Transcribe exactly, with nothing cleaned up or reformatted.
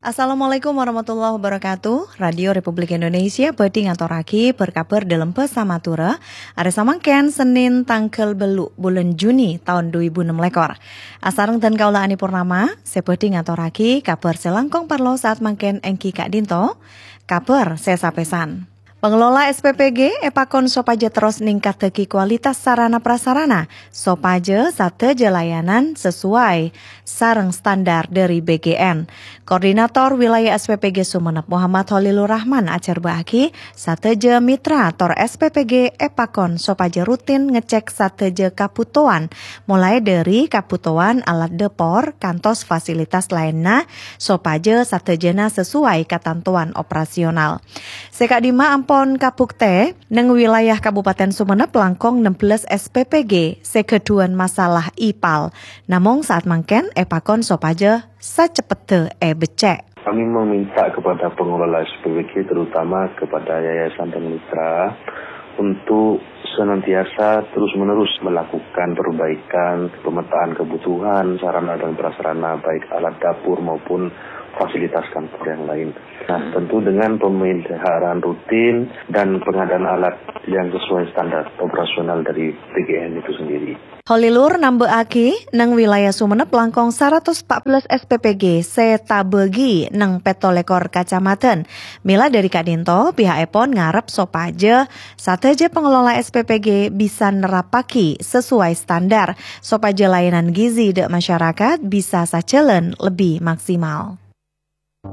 Assalamualaikum warahmatullahi wabarakatuh. Radio Republik Indonesia bhâdhi ngatorraghi bâr-kabhâr dâlem bhâsa Madhurâ. Arè samangkèn Sennèn tangghâl bâllu' bulân Juni taon dhu èbu ennem lèkor. Asareng dân kaulâ Ani Purnama, sè bhâdhi ngatorraghi kabhâr sè langkong parlo saat mangkèn èngghi ka'dinto. Kabhâr sè sapèsan. Pengelola S P P G èpakon sopajâ terros ningkattaghi kualitas sarana prasarana, sopajâ sadhâjâ layanan sesuai sareng standar dhâri B G N. Koordinator Wilayah S P P G Sumenep Muhammad Khalilur Rahman ajhârbâ'âghi, sadhâjâ mitra tor S P P G èpakon sopajâ rutin ngecek sadhâjâ kabhutowan, molaè dhâri kabhutowan alat dâpor kantos fasilitas laènna, sopajâ sadhâjâna sesuai katantowan operasional. Sè ka'dimma ampon kabuktè, neng wilayah Kabupaten Sumenep langkong ennem belas S P P G sè ghâdhuwân masalah ipal. Namong saat mangkèn èpakon sopajâ saceppedda èbecce'. Kami meminta kepada pengelola S P P G, terutama kepada yayasan dan mitra, untuk senantiasa terus-menerus melakukan perbaikan, pemetaan kebutuhan sarana dan prasarana, baik alat dapur maupun fasilitas kantor yang lain. Nah, tentu dengan pemeliharaan rutin dan pengadaan alat yang sesuai standar operasional dari B G N itu sendiri. Khalilur nambâ'âghi, neng wilayah Sumenep langkong saratos empat belas S P P G sè tabâgi neng pètto lèkor kacamadhân. Mèla dhâri ka'dinto, piha'èpon ngarep sopajâ sadhâjâ pengelola S P P G bisa nerrapaghi sesuai standar, sopajâ layanan gizi dâ' masyarakat bisa sajhâlân lebbi maksimal.